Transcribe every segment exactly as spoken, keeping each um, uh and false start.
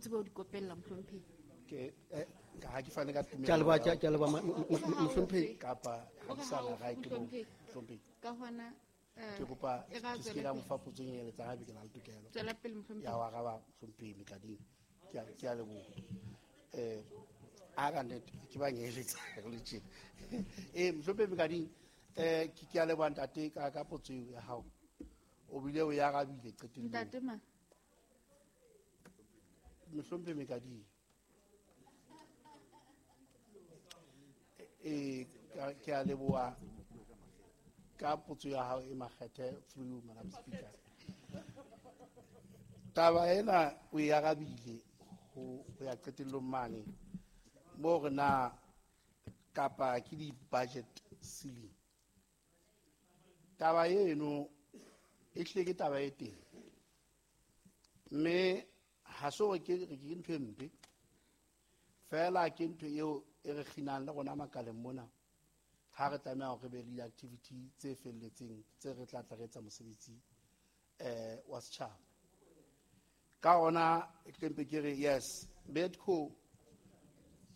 tsebe ho di kopella mohlomphehi. Ke eh ha ke fane ka tumelo. Ke a leboha, ke a leboha mohlomphehi. Kapa ha ke sa na right mo mohlomphehi. Ka hona ke kopa ke se ka mo fa potso e eletsang haebe ke na le tokelo. Tswela pele mohlomphehi. Ya ho araba mohlomphehi Mekading. Ke a ke a leboha. Eh a ka nnete ke ba ngeletsa le tjena. Eh mohlomphehi Mekading eh ke ke a leboha ntate ka ka potso eo ya hao. O bile o ya arabile qetellong. Ntate ma. Mohlomphehi Mekading. Eh ke a leboha ka potso ya hao e makgethe through Madam Speaker. Taba ena o e arabile ho ya qetellong mane mo re na kapa ke di budget ceiling. Taba eno e hlile ke taba e teng. Mme ha se hore ke re ke ntho e mpe. Fela ke ntho eo e re kginang le rona makaleng mona. Ha re tlameha hore re be le di-activity tse felletseng tse re tla tla re etsa mosebetsi eh wa setjhaba. Ka hona ke mpe ke re yes, Bedco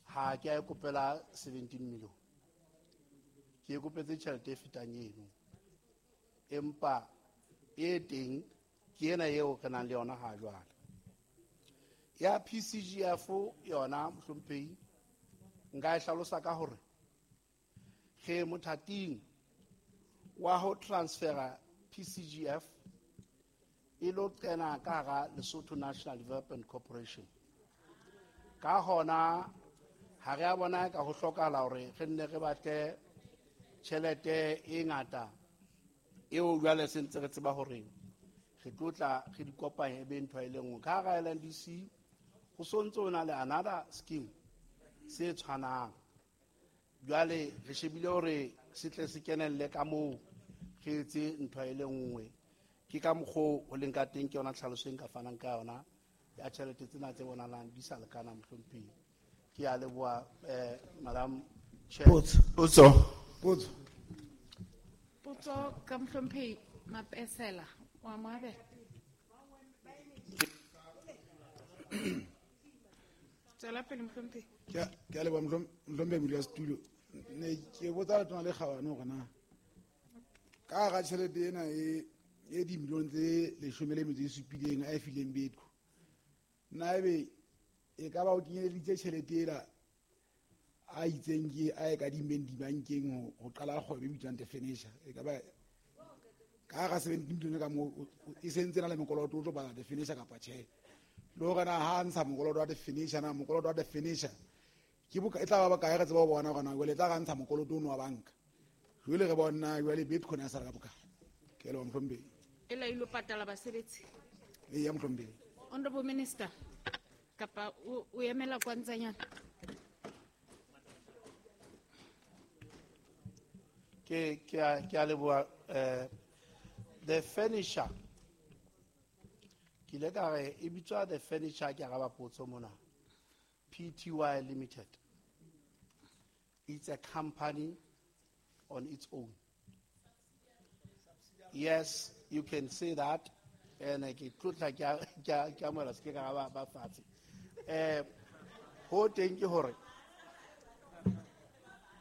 ha ke a e kopela seventeen million. Ke e kopetse tjhelete e fetang eno. Empa e teng ke ena eo re nang le yona ha jwale. Ya P C G F yona mohlomphehi nka e hlalosa ka hore re mothating wa ho transfera P C G F e lo kena ka hara Lesotho National Development Corporation. Ka hona ha re a bona ka ho hlokahala hore re nne re batle tjhelete e ngata eo jwale se ntse re tseba hore re tlo tla re di kopanye e be ntho e le nngwe. Ka hara L N D C ho sontso ho na le another scheme se tshwanang. Jwale re shebile hore se tle se kenelle ka moo re etse ntho e le nngwe. Ke ka mokgo ho leng ka teng ke yona tlhaloso e nka fanang ka yona ya tjhelete tsena tse bonahalang di sa lekana mohlomphehi. Ke a leboha eh Madam Chair. Potso. Potso. Potso. Potso ka mohlomphehi Mapesela wa Moabela. Tswela pele mohlomphehi. Ke a, ke a leboha mohlomphehi modulasetulo. Ne ke botsa Letona le Kgabane hore na ka hara tjhelete ena e e dimilione tse leshome le metso e supileng a e fileng Bedco, na ebe e ka ba o kenyeleditse tjhelete ela a itseng ke a e kadimmeng dibankeng ho, ho qala kgwebo e bitswang The Furniture? E ka ba ka hara seventeen million ka moo e sentse na le mokoloto o tlo bala The Furniture kapa tjhe? Le hore na ha ntsha mokoloto wa The Furniture, na mokoloto wa The Furniture ke boka e tla ba bokae? Re tseba ho bona hore na jwale e tla ra ntsha mokoloto ono wa banka. Jwale re bona jwale Bedco na sala ka bokae? Ke a leboha mohlomphehi. E la ilo patala basebetsi. Eya mohlomphehi. Honorable Minister, kapa o, o emela kwantsanyana? Ke, ke a, ke a leboha, eh, The Furniture. Ke ile ka re e bitswa The Furniture, ke araba potso mona. P T Y Limited. It's a company on its own. Yes, you can say that. And ke tlotla ke a, ke a, ke amohela se ke ka ba, ba fatshe. Eh, ho teng ke hore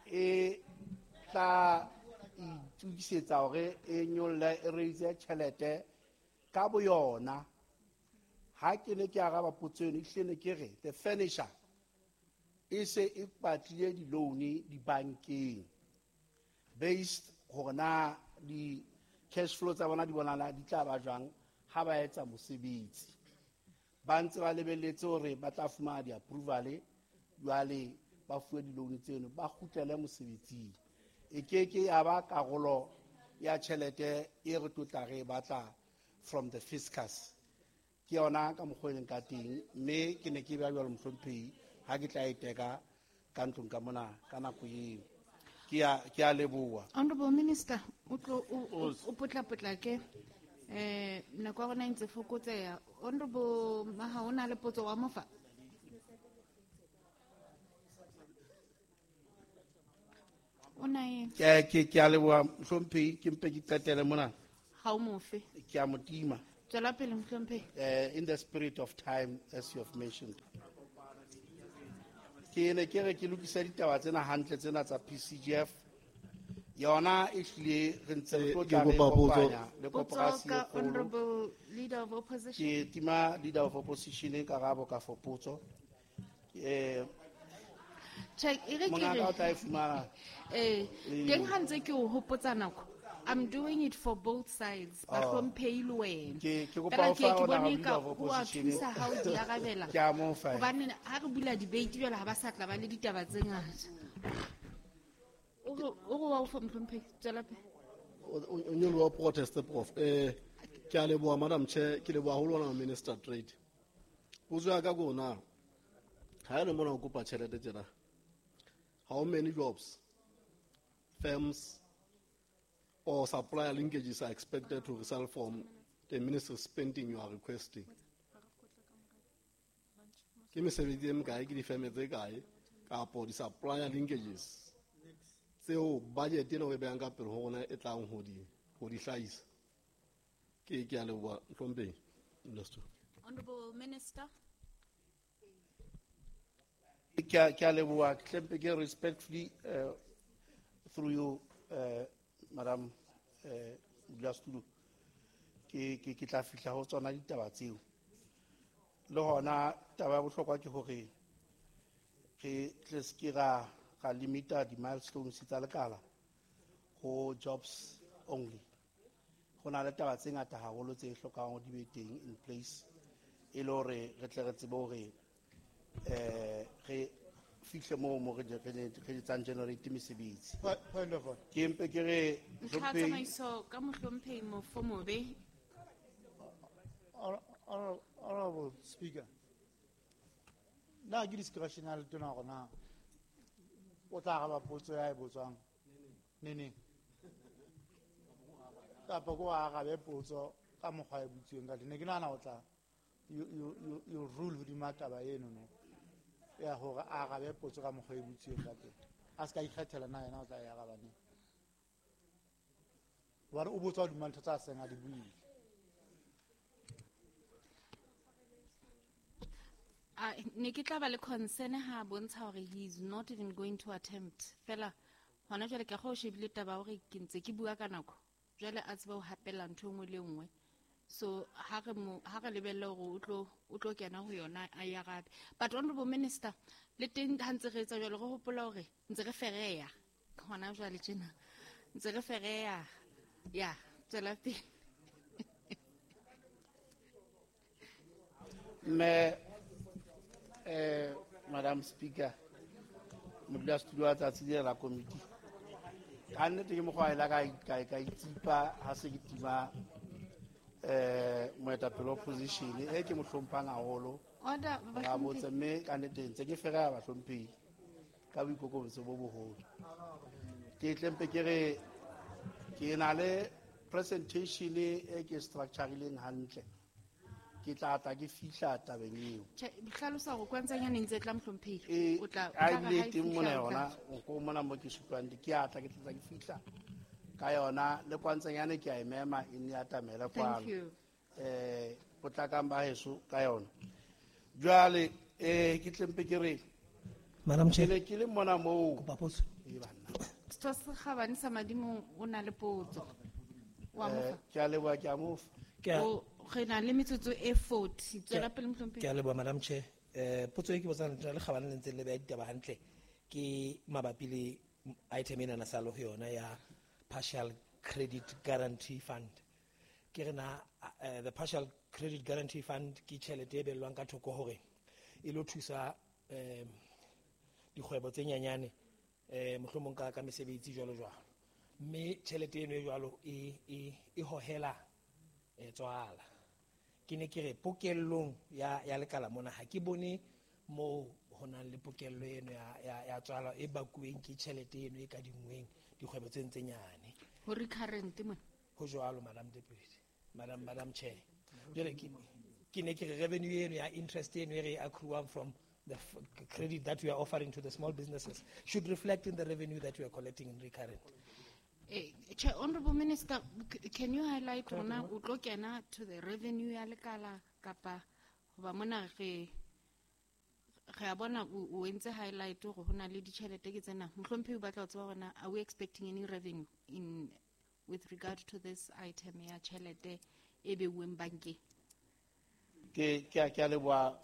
e tla itokisetsa hore e nyolle, e raise tjhelete ka boyona. Ha ke ne ke araba potso eno, ehlile ne ke re The Furniture e se e batlile di-loan dibankeng based hore na di cash flow tsa bona di bonahala di tla ba jwang ha ba etsa mosebetsi. Ba ntse ba lebelletse hore ba tla fumana di-approval, jwale ba fuwe di-loan tseno, ba kgutlele mosebetsing. E ke ke ya ba karolo ya tjhelete e re tlo tla re e batla from the fiscus. Ke yona ka mokgwa e leng ka teng, mme ke ne ke bea jwalo mohlomphehi ha ke tla e teka ka ntlong ka mona ka nako eo. Ke a, ke a leboha. Honorable Minister, o tlo, o, o, o potlapotlake. Eh, nako ya rona e ntse fokotseha. Honorable Maha, o na le potso wa mofa? O na e? Ke, ke, ke a leboha mohlomphehi, ke mpe ke qetele mona. Ha o mofe. Ke a mo tima. Tswela pele mohlomphehi. Uh, in the spirit of time, as you have mentioned. Ke ne ke re ke lokise ditaba tsena hantle tsena tsa P C G F. Yona e hlile re ntse re tlo Eh, ke tla re kopa potso. kopanya le Potso koporasi e ka kgolo. Honorable Leader of Opposition. Ke tima Leader of Opposition karabo ka for potso. Eh, Check, e re ke mongaka re o tla e fumana. Eh, Le teng ha ntse ke o hopotsa nako. I'm doing it for both sides. Oh. Bahlomphehi le wena. Ke, ke kopa Fela ho ke fa ke ona bone Leader ka of ho a Opposition. thusa ha o di arabela. Ke a mo fa. Hobane ha re bula debate jwale ha ba sa tla ba le ditaba tse ngata. O re, o re wa o fa mohlomphehi, tswela pele. O, o, o nyoloha protest, Prof. Eh, ke a leboha, Madam Chair, ke leboha haholo wena Minister Trade. Potso ya ka ke hore na, ha e le mona o kopa tjhelete tjena, how many jobs, firms, or supplier linkages are expected to result from the ministry spending you are requesting? Ke mesebetsi e mekae, ke difeme tse kae, kapo di-supplier linkages tseo budget ena o e behang ka pele ho rona e tlang ho di, ho di hlahisa? Ke, ke a leboha, Mohlomphehi. Minister. Honorable Minister. Ke a, ke a leboha, ke tlempe ke respectfully, uh, through you, uh, Madam, uh, Modulasetulo, ke, ke, ke tla fihla ho tsona ditaba tseo. Le hona taba ya bohlokwa ke hore re tle se ke ra, ra limita di-milestones tsa lekala ho jobs only. Ho na le taba tse ngata haholo tse hlokang hore di be teng in place e le hore re tle re tsebe hore, eh, re fihle moo mo re, re, re etsang generate mesebetsi. Point, point of order. Ke mpe ke re, Ntlha Mohlomphehi. tsamaiso ka Mohlomphehi Mofomobe. Honorable Speaker, na ke discretionary tona hore na o tla araba potso ya e botswang neneng? Kapa ko arabe potso ka mokgwa e butsweng ka teng. Ne ke nahana o tla, you, you, you, you rule hodima taba eno no. Ya hore a arabe potso ka mokgwa e butsweng ka teng. A se ka ikgethela na yena o tla e araba neng. Hobane o botsa hodima ntho tsa seng a di buile. A, ne ke tla ba le concern ha a bontsha hore he is not even going to attempt. Fela hona jwale ke go shebile taba hore ke ntse ke bua ka nako. Jwale a tsebe ho hapella ntho e nngwe le e nngwe. So ha re mo, ha re lebelle hore o tlo, o tlo kena ho yona a e arabe. But Honorable Minister, le teng ha ntse re etsa jwalo re hopola hore ntse re fereya. Hona jwale tjena. Ntse re fereya. Ya, tswela pele. Mme, eh, Madam Speaker, modulasetulo wa tsatsi lena la komiti. Ka nnete ke mokgwa ela ka, ka, ka itsipa ha se ke tima, eh, moetapele wa opposition e ke mo hlomphang haholo. Order, Ra botsa, bahlomphehi. mme ka nnete ntse ke fereha bahlomphehi ka boikokobetso bo boholo. Ke tle mpe ke re ke na le presentation e ke structure-ileng hantle. Ke tla tla ke fihla tabeng eo. Tjhe, hlalosa hore kwantsanyane ntse tla mohlomphehi. E, O tla, o a tla re ebile ha e teng fihla, mona o tla yona, o ko mona mo ke supang di, ke a tla, ke tla tla ke fihla ka yona. Le kwantsanyane ke a e mema, e nne ya atamele Thank kwano. you. Eh, potlakang ba heso ka yona. Jwale, eh, ke tle mpe ke re, Madam ke Chair. ne ke le mona moo. Kopa potso. E banna. Setho se kgabane sa Madimo o na le potso. Wa mo Eh, fa? ke a leboha, ke a mo fa. Ke a O, re na le metsotso e forty. Tswela pele, mohlomphehi. Ke a leboha, Madam Chair. Eh, potso e ke botsang le kgabane le ntse le beha ditaba hantle ke mabapi le item ena na sa le ho yona ya partial credit guarantee fund. Ke re na, eh, the partial credit guarantee fund ke tjhelete e behellwang ka thoko hore e lo thusa, eh, dikgwebo tse nyenyane, eh, mohlomong ka, ka mesebetsi jwalo jwalo. Mme tjhelete eno e jwalo e, e, e hohela, eh, tswala. Ke ne ke re pokellong ya, ya lekala mona ha ke bone moo ho nang le pokello eno ya, ya, ya tswala e bakuweng ke tjhelete eno e kadingweng dikgwebo tse ntse nyane. Ho recurrent mona. Ho jwalo, Madam Deputy, Madam, Madam Chair. Jwale ke, ke ne ke re revenue eno ya interest eno e re accruang from the f-, credit that we are offering to the small businesses should reflect in the revenue that we are collecting in recurrent. Eh, Chair, Honorable Minister, c- can you highlight rona o tlo kena to the revenue ya lekala kapa hoba mona re re a bona o o entse highlight hore ho na le ditjhelete ke tsena. Mohlomphehi o batla ho tseba hore na are we expecting any revenue in with regard to this item ya tjhelete e beuweng bankeng? Ke ke a ke a leboha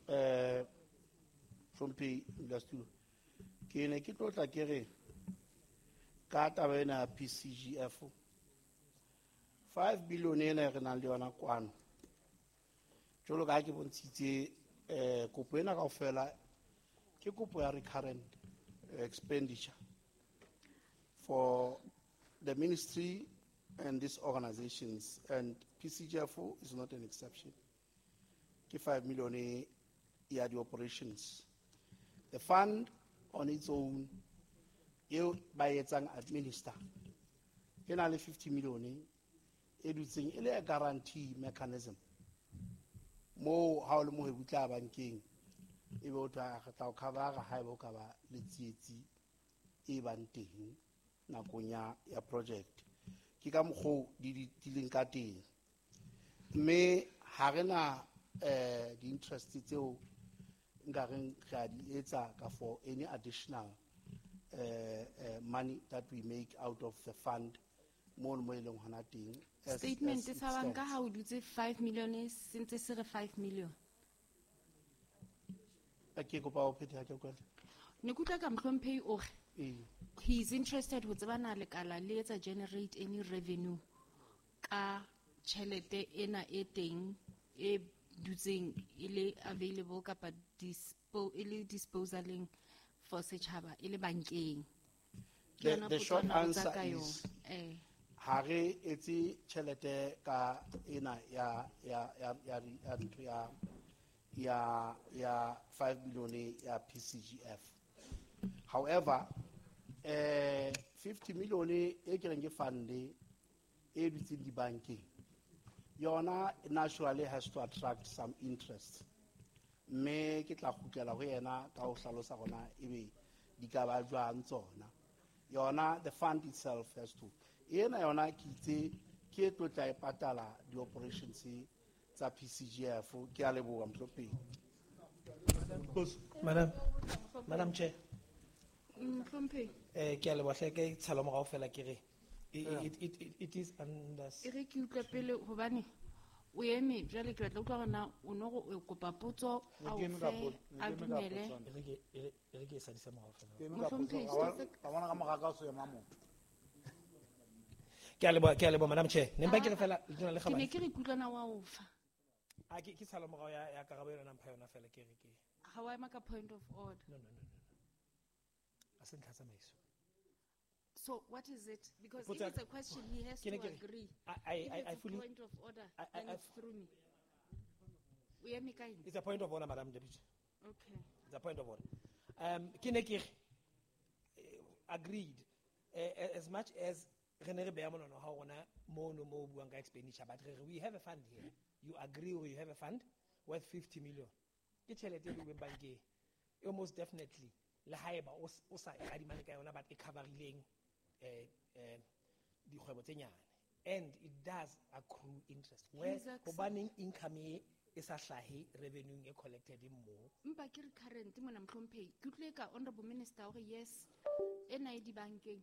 eh Hlomphehi Modulasetulo. Ke ne ke tlo tla ke re ka taba ena ya P C G F, five billion ena e re nang le yona kwano, jwalo ka ha ke bontshitse, eh kopo ena kaofela ke kopo ya recurrent expenditure for the ministry and these organizations, and P C G F is not an exception. Ke five million e ya di-operations. The fund on its own eo ba etsang administer e na le fifty million e dutseng e le a guarantee mechanism moo ha o le mohwebi o tla bankeng e be o thwe re tla o covera haeba o ka ba le tsietsi e bang teng nakong ya ya project. Ke ka mokgwa di di di leng ka teng, mme ha re na eh di-interest tseo nka reng re a di etsa ka for any additional uh, uh, money that we make out of the fund mono mo e leng hona teng as- Statement as it sa banka stands. Ha o dutse five million e se ntse se re five million. Eh, ke kopa o phethe ha ke utlwela. Ne ke utlwa ka mohlomphehi o re Ee. he is interested ho tseba na lekala le etsa generate any revenue ka tjhelete ena e teng e dutseng e le available kapa dispo, e le disposaleng for setjhaba e le bankeng. Ke The- yona The potso short a na botsa answer ka is yona. Eh. ha re etse tjhelete ka ena ya ya ya ya ya ntho ya ya ya five million ya P C G F. However, eh fifty million e ke reng ke fund e dutseng dibankeng yona naturally has to attract some interest, mme ke tla kgutlela ho yena ka ho hlalosa gona ebe di ka ba jwang tsona. Yona the fund itself has to ena yona ke itse ke e tlo tla e patala di-operations tsa P C G F. Ke a leboha, mohlomphehi. Madam, Madam Chair. Mohlomphehi. Eh, ke a leboha hle, ke tshalo morao fela ke re it, it, it, it is under E re ke utlwe pele hobane o eme jwale, ke batla utlwa hore na o no re o kopa potso Ne a ke o eme ka fe pot- ne a ke eme ka dumele. potso. E re ke e re- e re ke e sadise morao fela. Ke eme ka potso. Mohlomphehi, Ka bona- se- ka bona ka mora ka o se ema motho. Ke a leboha, ke a leboha, Madam Chair. Ne mpa ke re fela letona le Ke ne kgabane. ke re kutlwana wa o fa. A ke ke tshalo morao ya ya karabo ena mpha yona fela ke re ke Ha wa ema ka point of order. No, no, no, no. A se ntlha tsamaiso. So what is it? Because if Potso ya it's a question, he has Ke to ne ke re, agree. I I If I, it's I a fully point of order, I- I- then I it's through me. O eme ka eng? It's a point of order, Madam Deputy. Okay. It's a point of order. Um, ke ne ke re, eh, agreed. Eh, as much as re ne re beha monwana wa rona mono mo o buang ka expenditure, but re re we have a fund here. You agree or you have a fund worth fifty million. Ke tjhelete e beuweng bankeng. E most definitely le haeba o s- o sa e kadimane ka yona, but e coverileng eh eh dikgwebo tse nyane, and it does accrue interest. Where He's accept- hobaneng income e e sa hlahe revenue e collected mo? Mpa ke re current mona, mohlomphehi, ke utlwile ka honorable minister hore yes, ena e dibankeng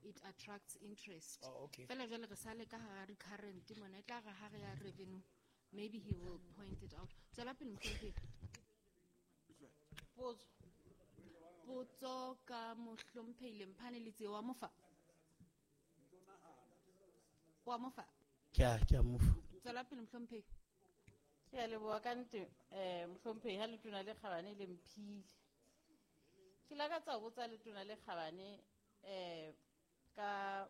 it attracts interest. Oh, okay. Fela jwale re sale ka hara recurrent mona, e tla re ha re ya revenue maybe he will point it out. Tswela pele, mohlomphehi. Potso. Potso ka mohlomphehi Lemphane Letsie wa mofa. Wa mofa. Ke a ke a mofa. Tswela pele, mohlomphehi. Ke a leboha ka nnete, eh mohlomphehi ha letona le kgabane le mphile. Ke lakatsa ho botsa letona le kgabane eh ka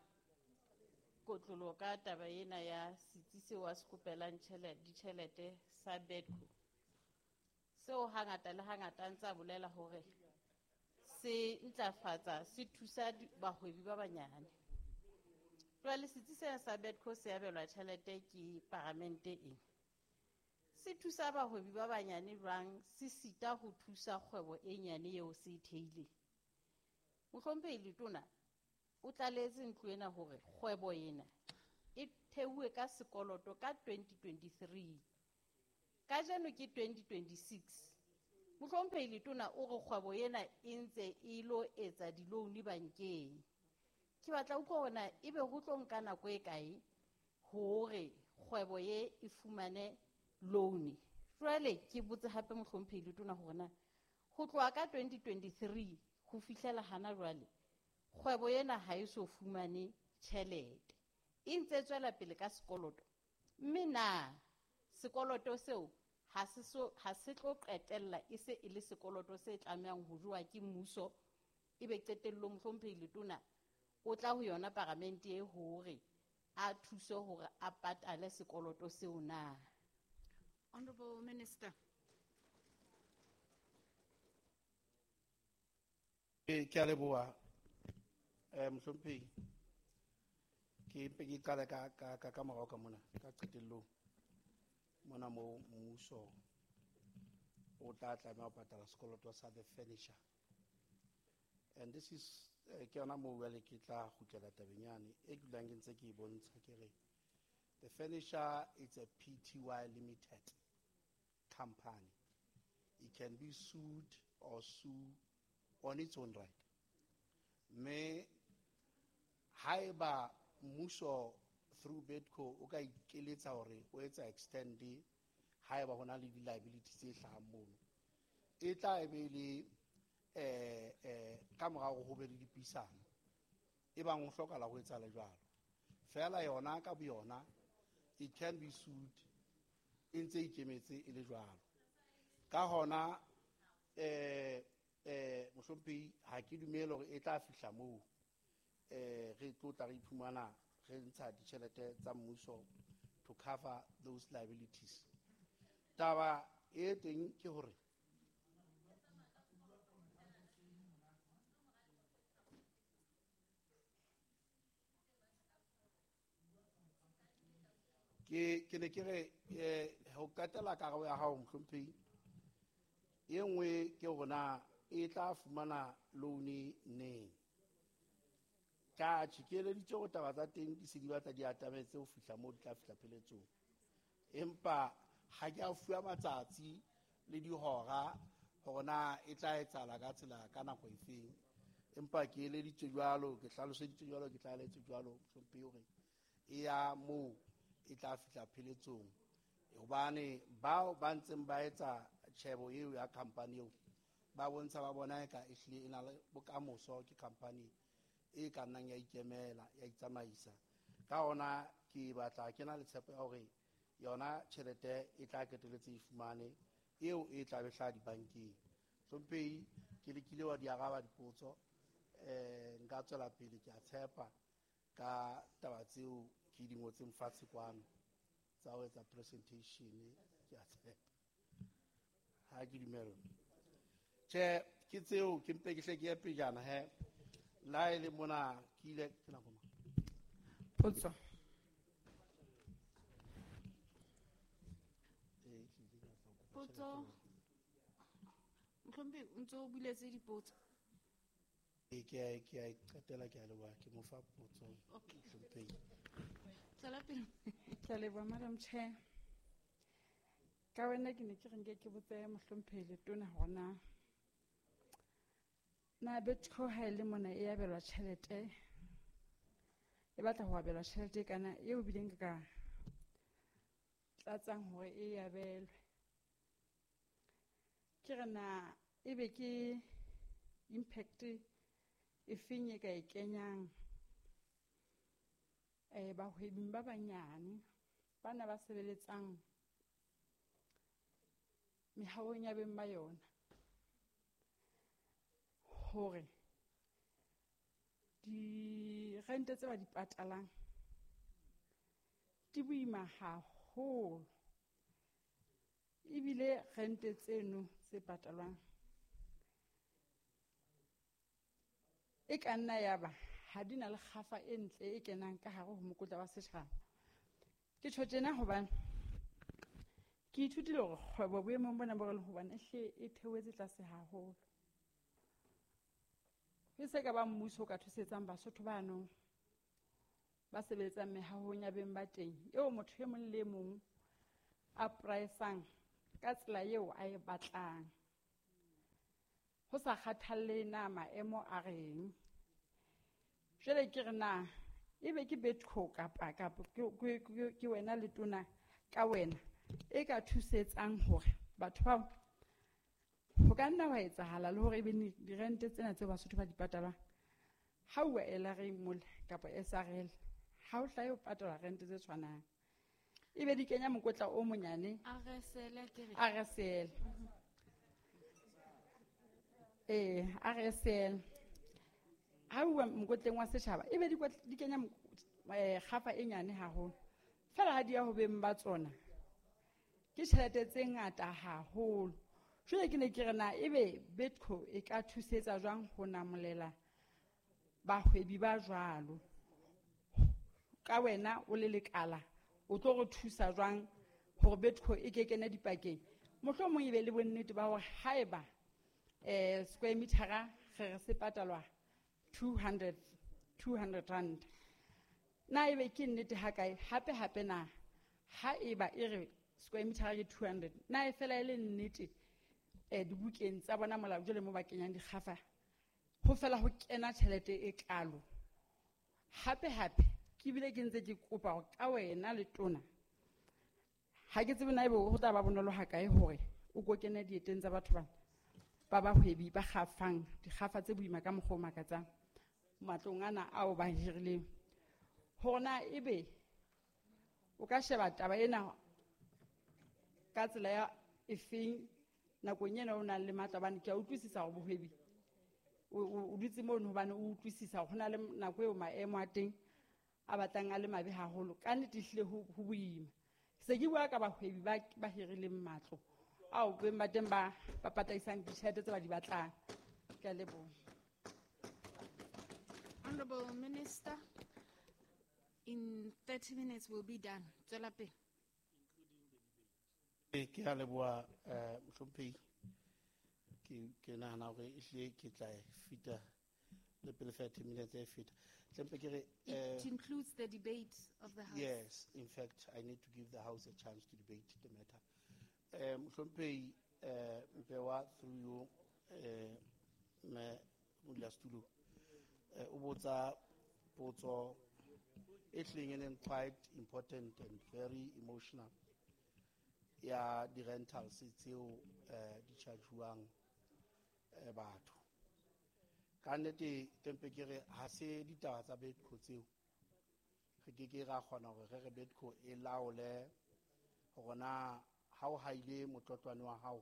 kotlolo ka taba ena ya setsi seo a se kopelang tjhelete, ditjhelete sa Bedco. Seo hangata le hangata a ntse a bolela hore se ntlafatsa, se thusa di-, bahwebi ba banyane. Jwale setsi sena sa Bedco se abelwa tjhelete ke paramente ena. Se thusa bahwebi ba banyane jwang, se sita ho thusa kgwebo e nyane eo se e theileng? Mohlomphehi letona, O tlaletse ntlo ena hore kgwebo ena e theuwe ka sekoloto ka twenty twenty-three. Kajeno ke twenty twenty-six. Mohlomphehi Letona o re kgwebo ena e ntse e lo etsa di-loan bankeng. Ke batla utlwa hore na ebe ho tlo nka nako e kae hore kgwebo ye e fumane loan. Jwale ke botse hape Mohlomphehi Letona hore na ho tloha ka twenty twenty-three ho fihlela hana jwale kgwebo ena ha e so fumane tjhelete. E ntse tswela pele ka sekoloto. Mme na sekoloto seo ha se so, ha se tlo qetella e se e le sekoloto se tlamehang ho jowa ke mmuso, ebe qetellong Mohlomphehi Letona o tla ho yona paramente e hore a thuse hore a patale sekoloto seo na. Honorable Minister. Ke, ke a leboha, eh, Mohlomphehi. Ke mpe ke qale ka, ka, ka, ka morao ka mona, ka qetellong. Mona moo mmuso o tla tlameha ho patala sekoloto sa the furniture. And this is, eh, ke yona moo jwale ke tla kgutlela tabeng yane e ke dulang ke ntse ke e bontsha, ke re the furniture is a P T Y limited company. It can be sued or sue on its own right. Mme haeba mmuso through BEDCO o ka ikeletsa hore o etsa extend haeba ho na le di-liability tse hlahang mono, e tla e be le, eh, eh, ka morao ho be le dipuisano e bang ho hlokahala ho etsahala jwalo. Feela yona ka boyona it can be sued e ntse e ikemetse e le jwalo. Ka hona, eh, eh, Mohlomphehi, ha ke dumele hore e tla fihla moo, eh, re tlo tla re iphumana re ntsha ditjhelete tsa mmuso to cover those liabilities. Taba e teng ke hore ke, ke ne ke re, eh, ho qetela karabo ya hao Mohlomphehi, e nngwe ke hore na e tla fumana loan neng. Ka tjhe, ke eleditse hore taba tsa teng di se di batla di atametse ho fihla moo di tla fihla pheletsong. Empa ha ke a fuwa matsatsi le dihora hore na e tla etsahala ka tsela ka nako efeng. Empa ke eleditse jwalo, ke hlaloseditse jwalo, ke tlalehetse jwalo Mohlomphehi hore e ya moo e tla fihla pheletsong. Hobane bao ba ntseng ba etsa tjhebo eo ya company eo, ba bontsha ba bona eka ehlile e na le bokamoso, ke company e ka nnang ya ikemela, ya itsamaisa. Ka hona ke batla ke na le tshepo ya hore yona tjhelete e tla qetelletse e fumane eo e tla be hlaha dibankeng. Hlomphehi, ke lekile wa di araba dipotso, eh, nka tswela pele, ke a tshepa ka taba tseo ke di ngotseng fatshe kwano tsa ho etsa presentation, ke a tshepa. Ha ke dumelle. Tjhe, ke tseo ke mpe ke hle ke ye pejana he. La e le mona ke ile ke nako mang? Potso. Potso. Mohlomphehi, o ntso o buletse dipotso. Ee, ke a, ke a e qetela, ke a leboha, ke mo fa potso. Okay. Mohlomphehi. Tswela pele. Ke a leboha, Madam Chair. Ka wena ke ne ke re nke ke botse Mohlomphehi Letona hore na na BEDCO ha e le mona e abelwa tjhelete, e batla ho abelwa tjhelete kana eo bileng ka tlatsang hore e abelwe. Ke re na ebe ke impact e feng e ka e kenyang, eh, bahwebing ba banyane bana ba sebeletsang mehahong ya beng ba yona, hore dirente tse ba di patalang di boima haholo, ebile rente tseno tse patalwang e ka nna ya ba ha di na le kgafa e ntle e kenang ka hare ho mokotla wa setjhaba. Ke tjho tjena hobane ke ithutile hore kgwebo boemong bona bo re leng ho bona e hle e theohetse tlase haholo. E se ka ba mmuso o ka thusetsang Basotho bano ba sebeletsang mehahong ya beng ba teng, eo motho e mong le e mong a price-ang ka tsela eo a e batlang, ho sa kgathalle na maemo a reng. Jwale ke re na ebe ke Betco kapa kapa ke, ke, ke wena letona ka wena e ka thusetsang hore batho bao ho ka nna wa etsahala le hore ebe dirente tsena tseo Basotho ba di patalang ha o L R A mole kapa S R L, ha o hlahe o patala rente tse tshwanang, ebe di kenya mokotla o monyane. R S L ke re. R S L. Eh, R S L. Ha o mokotleng wa setjhaba ebe di kwat-, di kenya mok-, eh, kgafa e nyane haholo. Fela ha di ya ho beng ba tsona, ke tjhelete tse ngata haholo. Jwale ke ne ke re na ebe Betco e ka thusetsa jwang ho namolela bahwebi ba jwalo? Ka wena o le lekala, o tlo re thusa jwang hore Betco e ke kene dipakeng? Mohlomong e be le bonnete ba hore haeba, eh, square meter-a re re se patalwa two hundred, two hundred rand. Na ebe ke nnete ha kae? Hape hape na haeba e re square meter ke two hundred, na e fela e le nnete, eh, dibukeng tsa bona molao jwale mo ba kenyang dikgafa, ho fela ho kena tjhelete e kalo? Hape hape ke bile ke ntse ke kopa hore ka wena letona, ha ke tsebe na ebe ho tla ba bonolo ha kae hore o ko kene dieteng tsa batho bana ba bahwebi ba kgafang dikgafa tse boima ka mokgwa o makatsang matlong ana ao ba hirileng, hore na ebe o ka sheba taba ena ka tsela ya efeng nakong ena o nang le matla, hobane ke a utlwisisa hore bohwebi o, o, o dutse mono hobane o utlwisisa hore ho na le nako eo maemo a teng a batlang a le mabe haholo. Ka nnete ehlile ho, ho boima. Se ke bua ka bahwebi ba, ba hirileng matlo ao beng ba teng ba, ba pataisang ditjhelete tse ba di batlang. Ke a leboha. Honorable Minister, in thirty minutes we'll be done. Tswela pele. Ke a leboha, eh, mohlomphehi. Ke, ke nahana hore ehlile ke tla e feta le pele thirty minutes e feta. Tlempe ke re, It eh, includes the debate of the House. Yes, in fact, I need to give the House a chance to debate the matter. Eh, mohlomphehi, eh, Mpewa, through you, eh, me modulasetulo, eh, o botsa potso e hlileng e leng quite important and very emotional ya di-rentals tseo, eh, di charge-uwang, eh, batho. Ka nnete tempe ke re ha se ditaba tsa Betco tseo, re ke ke ra kgona hore re re Betco e laole hore na ha o haile motlotlwane wa hao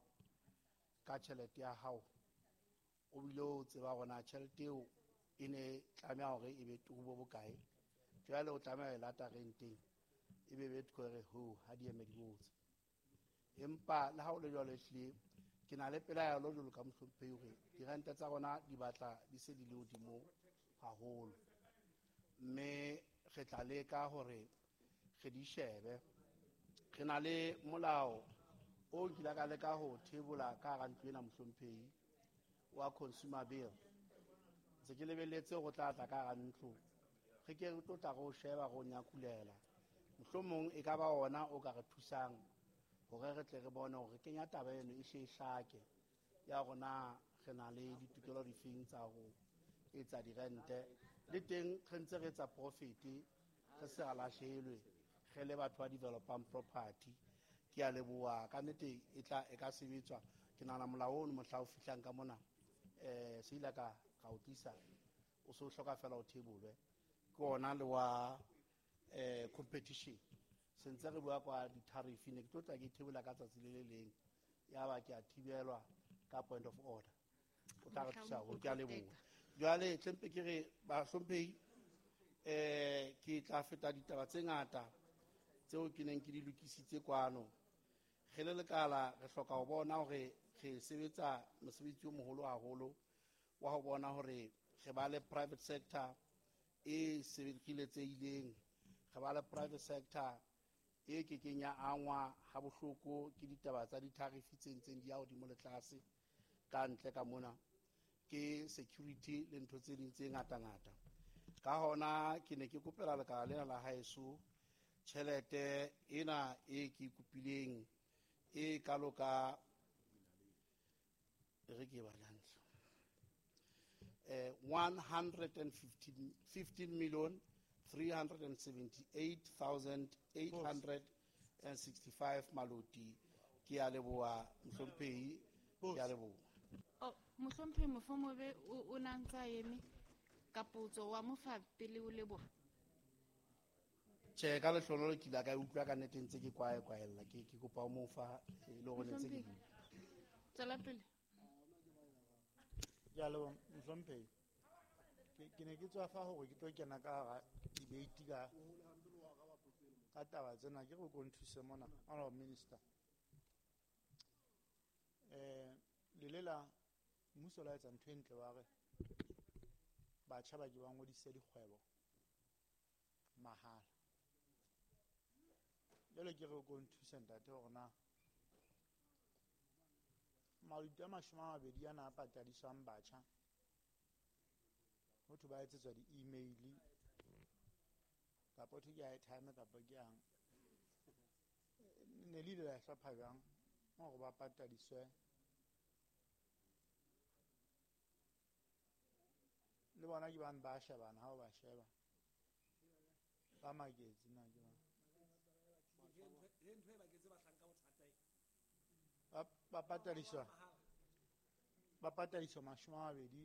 ka tjhelete ya hao, o bile o tseba hore na tjhelete eo e ne tlameha hore e be tubo bokae, jwale o tlameha ho e lata renteng, ebe Betco e re ho ha di eme di botse. Empa le ha o le jwalo ehlile ke na le pelaelo jwalo ka mohlomphehi hore dirente tsa rona di batla di se di le hodimo haholo, mme re tla leka hore re di shebe. Re na le molao o nkile ka leka ho thebola ka hara ntlo ena mohlomphehi wa consumer bill. Ntse ke lebelletse hore o tla tla ka hara ntlo, re ke re tlo tla re o sheba, re o nyakulela. Mohlomong e ka ba ona o ka re thusang hore re tle re bone hore re kenya taba eno e hle e hlake ya rona, re na le ditokelo difeng tsa ho etsa dirente, le teng re ntse re etsa profit, re se ra lahlehelwe re le batho ba developang property. Ke a leboha ka nnete, e tla e ka sebetswa. Ke nahana molao ono mohla o fihlang ka mona, eh, se ile ka, ka o tlisa, o se o hloka fela o thebolwe ke ona le wa, eh, competition. Se ntse re bua kwa di-tariff, ne ke tlo tla ke thebola ka tsatsi le le leng, ya ba ke a thibelwa ka point of order. O tla re thusa haholo, ke a leboha. Jwale tlempe ke re bahlomphehi, eh, ke tla feta ditaba tse ngata tseo ke neng ke di lokisitse kwano. Re le lekala re hloka ho bona hore re sebetsa mosebetsi o moholo haholo wa ho bona hore re ba le private sector e sebeletsehileng, re ba le private sector e kekeng ya angwa ha bohloko ke ditaba tsa di-tariff tse ntseng di ya hodimo le tlase ka ntle ka mona. ke security le ntho tse ding tse ngata-ngata. Ka hona ke ne ke kopela lekala lena la haeso tjhelete ena e ke kopileng e kalo ka re ke ba hantle eh one hundred and fifteen million three hundred and seventy-eight thousand eight hundred and sixty-five maloti. Ke a leboha mohlomphehi, ke a leboha. Oh, mohlomphehi Mofomobe o na ntsa eme ka potso wa mo fa pele o leboha. Tjhe, ka lehlonolo ke ile ka utlwa ka nnete ntse ke kwae kwaella, ke ke kopa o mo fa e le hore ntse ke bua. Tswela pele. Ke a leboha mohlomphehi. Ke ke ne ke tswa fa hore ke tlo kena ka hara debate ka ka taba tsena, ke re o ko nthuse mona honorable minister. Eh le lela mmuso la etsa ntho e ntle wa re batjha ba ke ba ngodise dikgwebo mahala. Jwale ke re o ko nthuse ntate hore na maluti a mashome a mabedi ana a patadiswang batjha ho thwe ba etsetswa di-email kapa ho thwe ke airtime kapa ke yang, ne le ile la hlopha jwang hore ba patadiswe le bona ke bane ba shebana ha o ba sheba ba maketse na ke ba ba patadiswa ba patadiswa mashome a mabedi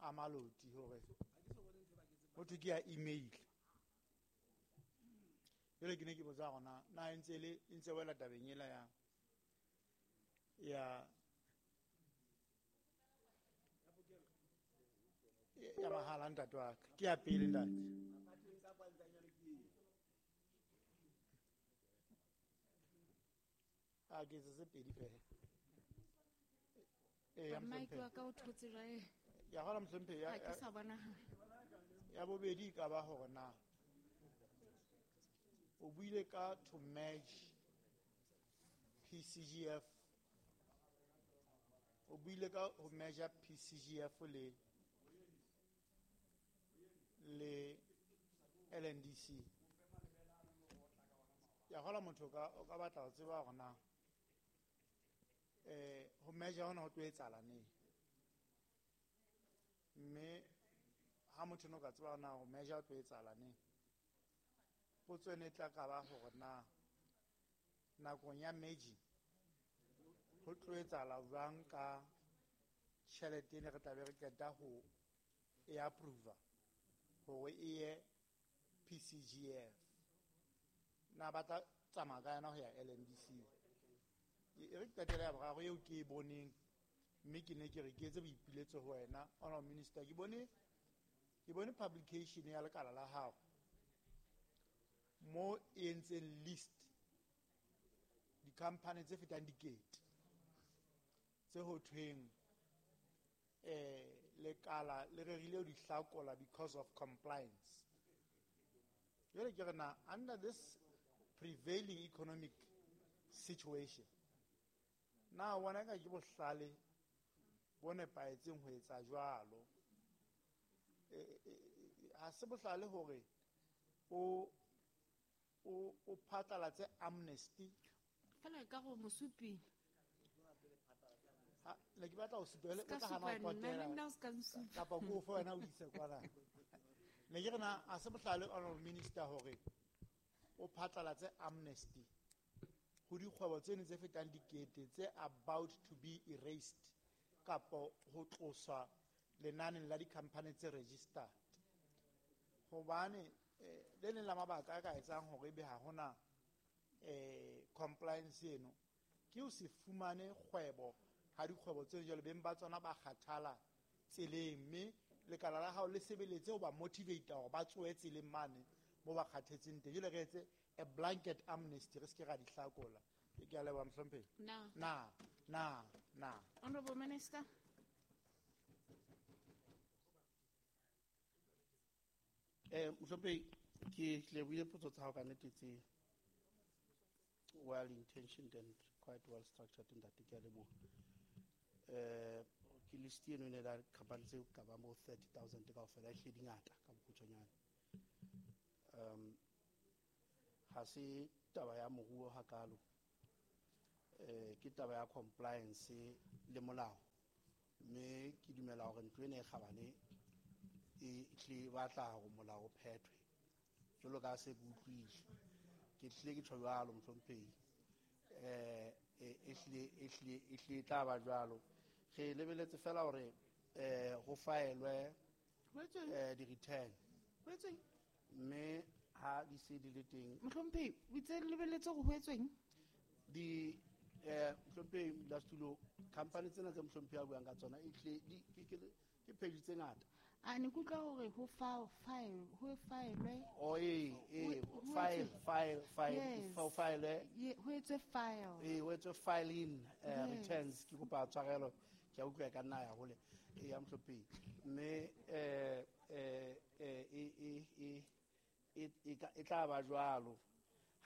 a maloti hore ho thwe ke ya email. Jwale ke ne ke botsa hore na na e ntse le e ntse wela tabeng ela ya ya ya mahala ntate wa ka. Ke ya pele ntate. A ke tse pedi fela. Eh ya Mike wa ka o thotse jwale. Ya hola mohlomphehi ya ke sa bona. Ya bobedi ka ba hore na o buile ka to merge P C G F, o buile ka ho measure P C G F le le L N D C. Ya hola motho ka o ka batla ho tseba hore na eh ho measure hona ho tlo etsahala neng, mme ha motho no ka tseba na ho measure ho tlo etsahala neng, potso ene tla ka ba hore na nakong ya merging ho tlo etsahala jwang ka tjhelete ene re tla be re qeta ho e approve hore e ye P C G F, na ba tla tsamaya ka yona ho ya L N D C. E re qetela ya boraro eo ke e boneng, mme ke ne ke re ke etse boipiletso ho wena honorable minister. Ke bone ke bone publication ya lekala la hao mo e entseng list di-company tse fetang dikete tse ho thweng eh lekala le rerile ho di hlakola because of compliance. Jwale ke re na under this prevailing economic situation, na bona ka ke bohlale bo nepahetseng ho etsa jwalo? Ha se bohlale hore o o o phatlalatse amnesty fela ka go mosupi. Ha le ke batla ho supele o tla hana ho potela kapa ko fo wena o ise kwana. Ne ke re na a se bohlale honorable minister hore o phatlalatse amnesty ho dikgwebo tsene tse fetang dikete tse about to be erased kapa ho tloswa lenaneng la di-company tse registered, hobane le leng la mabaka a ka etsang hore ebe ha hona eh compliance eno ke ho se fumane kgwebo ha dikgwebo tse jwalo beng ba tsona ba kgathala tseleng, mme lekala la hao le sebeletse ho ba motivate hore ba tsohe tseleng mane mo ba kgathetseng teng. Jwale re etse a blanket amnesty, re se ke ra di hlakola. Ke a leboha mohlomphehi. Na na na na Honorable Minister. Eh mohlomphehi, ke lebohile potso tsa hao ka nnete tse well intentioned and quite well structured ntate, ke a leboha. Eh ke List eno e ne la company tse ka bang bo thirty thousand kaofela, e hlile di ngata ka bokgutshwanyane. Um ha se taba ya moruo hakalo, eh ke taba ya compliance le molao, mme ke dumela hore ntlo ena e kgabane e tle batla hore molao o phethwe jwalo ka se ke utlwile. Ke tlile ke tjho jwalo mohlomphehi, eh e hlile e hlile e hlile e tla ba jwalo. Re lebeletse fela hore eh ho faelwe eh di-return, mme ha di se di le teng. Mohlomphehi, o itse lebeletse hore ho etsweng? Di eh mohlomphehi modulasetulo, company tsena tse mohlomphehi a buang ka tsona e hlile di ke ke ke page tse ngata. A ne ke utlwa hore ho fa file, ho faelwe. Oh, eh, eh, file, file, file, ho faelwe. Ye, ho etswe file. Eh, ho etswe filing, eh, returns. Ke kopa tshwarelo, ke a utlwa ka nna ya hole. Eh, ya mohlomphehi. Mme, eh, eh, eh, e, e, e, e, e ka, e tla ba jwalo.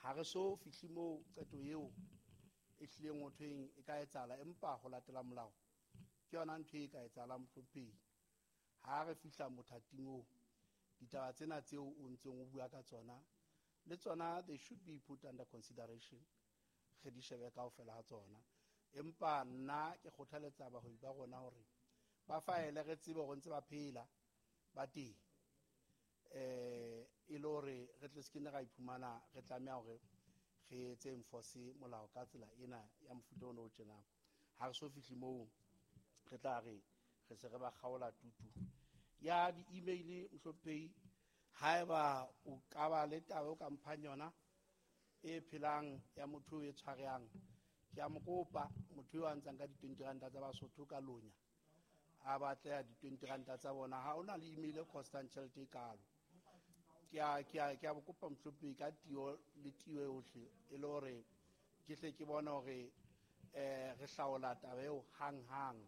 Ha re so fihle moo qeto eo e hlileng ho thweng e ka etsahala, empa ho latela molao ke yona ntho e ka etsahalang mohlomphehi. Ha re fihla mothating oo, ditaba tsena tseo o ntseng o bua ka tsona le tsona, they should be put under consideration, re di shebe kaofela ha tsona. Empa nna ke kgothaletsa bahwebi ba rona hore ba faele, re tsebe hore ntse ba phela ba teng, eh e le hore re tle se ke ne ra iphumana re tlameha hore re etse enforce molao ka tsela ena ya mofuta ona o tjenang. Ha re so fihle moo, re tla re re se re ba kgaola tutu ya di-email. Mohlomphehi, haeba o ka ba le taba o ka mphang yona e phelang ya motho e tshwarehang, ke a mo kopa motho eo a ntsang ka di-twenty ranta tsa Basotho ka lonya, a batleha di-twenty ranta tsa bona. Ha ona le email e costang tjhelete e kalo. Ke a, ke a, ke a bo kopa mohlomphehi ka tio le tio yohle, e le hore ke hle ke bone hore, eh, re hlaola taba eo hang-hang.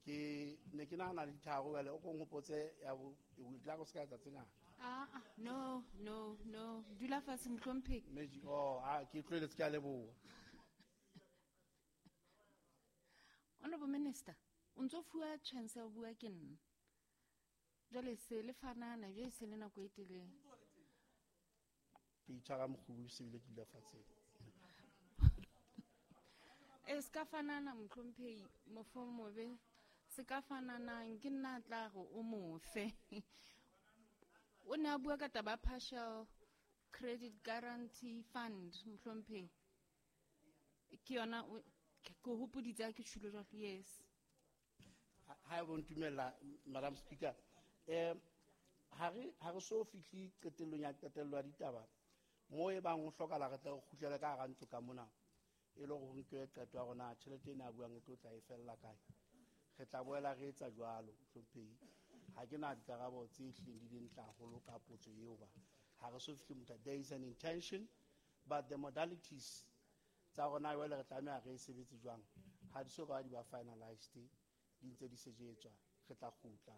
Ke ne ke nahana le ditharo jwale, o ko nhopotse ya bo, e tla go se ka etsa tse ngata. Ah, ah, no, no, no. Dula fatshe mohlomphehi. Magic, oh, ah, ke tlohelletse, ke a leboha. Honorable Minister, o ntso fuwa chance ya ho bua ke nna. Jwale se le fanana, jwale se le nako e telele. Ke itshwara mokgubu se bile ke dula fatshe. E se ka fanana mohlomphehi, mofo mobe. Se ka fananang ke nna tla re o mofe. O ne a bua ka taba partial credit guarantee fund mohlomphehi. Ke yona o, ke hopoditse ha ke tjhulo jwalo, yes. Ha e bo ntumella, Madam Speaker, eh, ha re, ha re so fihle qetellong ya qetello ya ditaba, moo e bang ho hlokahala re tle re kgutlele ka hara ntlo ka mona, e le hore ho nkwe qeto ya rona, tjhelete ena a buang e tlo tla e fella kae. Re tla boela re etsa jwalo, mohlomphehi. Ha ke na dikarabo tse hlileng di le ntle haholo ka potso eo ba. Ha re so fihle motho, there is an intention, but the modalities tsa rona jwale re tlameha re e sebetse jwang, ha di so ka di ba finalized, di ntse di sejetswa. Re tla kgutla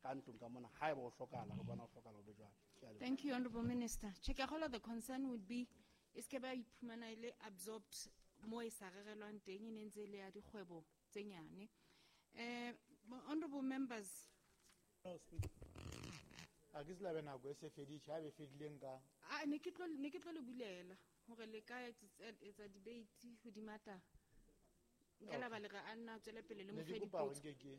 ka ntlong ka mona haeba ho hlokahala, re bona ho hlokahala ho be jwalo. Ke a leboha. Thank you, Honorable Minister. Che, ke a kgolwa the concern would be e se ke ba iphumana e le absorbed mo e sa rerelwang teng, e ne ntse e le ya dikgwebo tse nyane. Eh, honorable members. No, speak. A ke se labe nako e se feditše, ha e be fedileng ka. Ah, ne ke tlo, ne ke tlo le bulela hore le ka etsa, etsa debate hodima taba. Nka la ba le re a nna a tswele pele le Ne mo ke fe kopa hore dipotso. nke ke.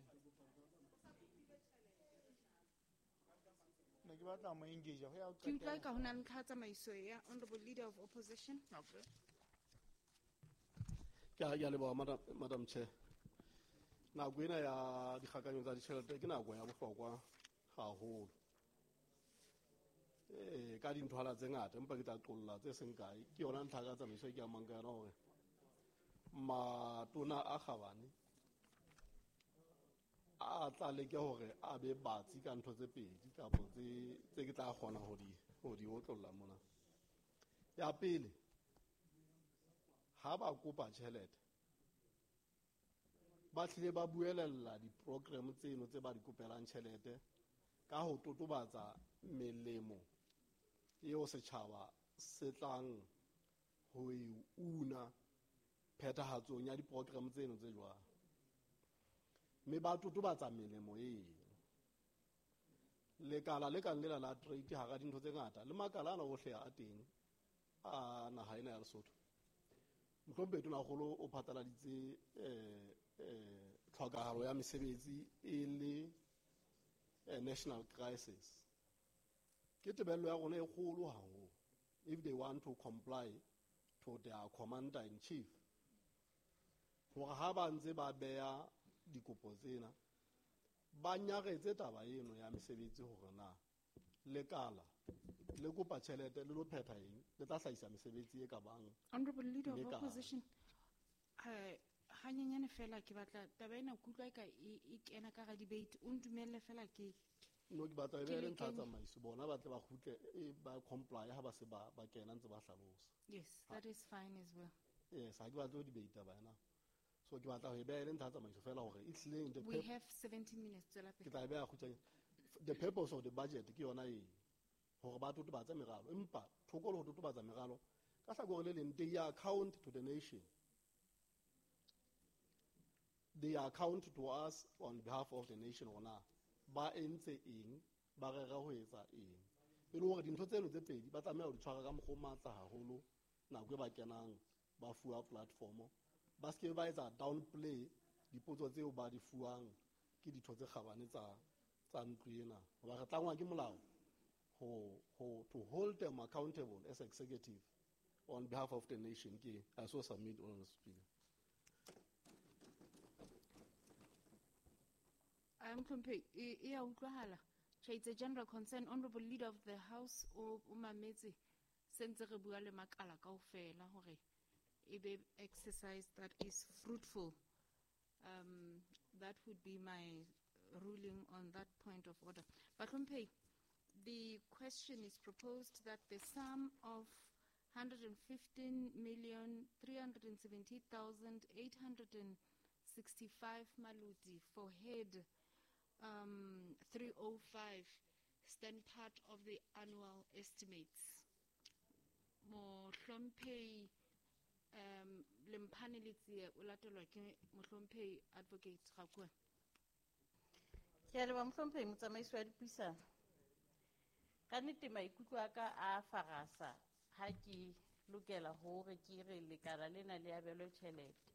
Ne ke batla mo engage ho ya ho Ke utlwa qetela. ka ho na le ntlha ya tsamaiso ya Honorable Leader of Opposition. Okay. Ke a, ke a leboha, Madam, Madam Chair. Nako ena ya dikgakanyo tsa ditjhelete ke nako ya bohlokwa haholo. Eh, ka dinthwana tse ngata, empa ke tla qolla tse seng kae. Ke yona ntlha ka tsamaiso e ke amang ka yona hore matona a kgabane a tla leke hore a be batsi ka ntho tse pedi kapa tse, tse ke tla kgona ho di, ho di otlolla mona. Ya pele, ha ba kopa tjhelete, ba tlile ba buelella di-program tseno tse ba di kopelang tjhelete ka ho totobatsa melemo eo setjhaba se tlang ho e una phethahatsong ya di-program tseno tse jwalo. Mme ba totobatsa melemo eo. Lekala le kang lela la trade hara dintho tse ngata le makala ana ohle a teng a naha ena ya Lesotho. Mohlomphehi Tonakgolo o phatlaladitse eh eh tlhokahalo ya mesebetsi e le national crisis. Ke tebello ya rona e kgolo haholo if they want to comply to their commander in chief. Hore ha ba ntse ba beha dikopo tsena ba nyaretse taba eno ya mesebetsi hore na lekala le kopa tjhelete le lo phetha eng le tla hlahisa mesebetsi e ka bang. Honorable Leader of Opposition, eh hanyenyane fela ke batla taba ena kutlwa e ka e kena ka ga debate, o ntumelle fela ke no ke batla e be le ntlha tsamaiso bona ba tle ba kgutle ba comply ha ba se ba ba kena ntse ba hlalosa. Yes, that is fine as well. Yes, ha ke batla ho debate taba ena. So ke batla ho e beha le ntlha tsamaiso fela hore e hlileng the we have seventeen minutes tswela pele. Ke tla e beha kgutshwanyane. The purpose of the budget ke yona e hore ba totobatse meralo, empa thoko le ho totobatsa meralo ka hlakore le leng they account to the nation. They account to us on behalf of the nation rona ba entse eng ba rera ho etsa eng e le hore dintho tseno tse pedi ba tlameha ho di tshwara ka mokgwa o matla haholo nako e ba kenang ba fuwa platform ba se ke ba etsa downplay dipotso tseo ba di fuwang ke ditho tse kgabane tsa tsa ntlo ena hoba re tlangwa ke molao ho ho to hold them accountable as executive on behalf of the nation. Ke I so submit on speaker. I'm Mhlophe e ya utlwahala. Cha it's a general concern. Honorable Leader of the House o mametse sentse re bua le makala kaofela hore e be exercise that is fruitful. Um, that would be my ruling on that point of order. Bahlomphei, the question is proposed that the sum of one hundred fifteen million three hundred seventy thousand eight hundred sixty-five maluti for head um, three oh five stand part of the annual estimates. Mohlomphei um, Lemphane Letsie o latelwa ke Mohlomphei Advocate Rakwe. Ke a leboha Mohlomphehi motsamaisi wa dipuisano. Ka nnete maikutlo a ka a farasa ha ke lokela hore ke re lekala lena le abelwe tjhelete.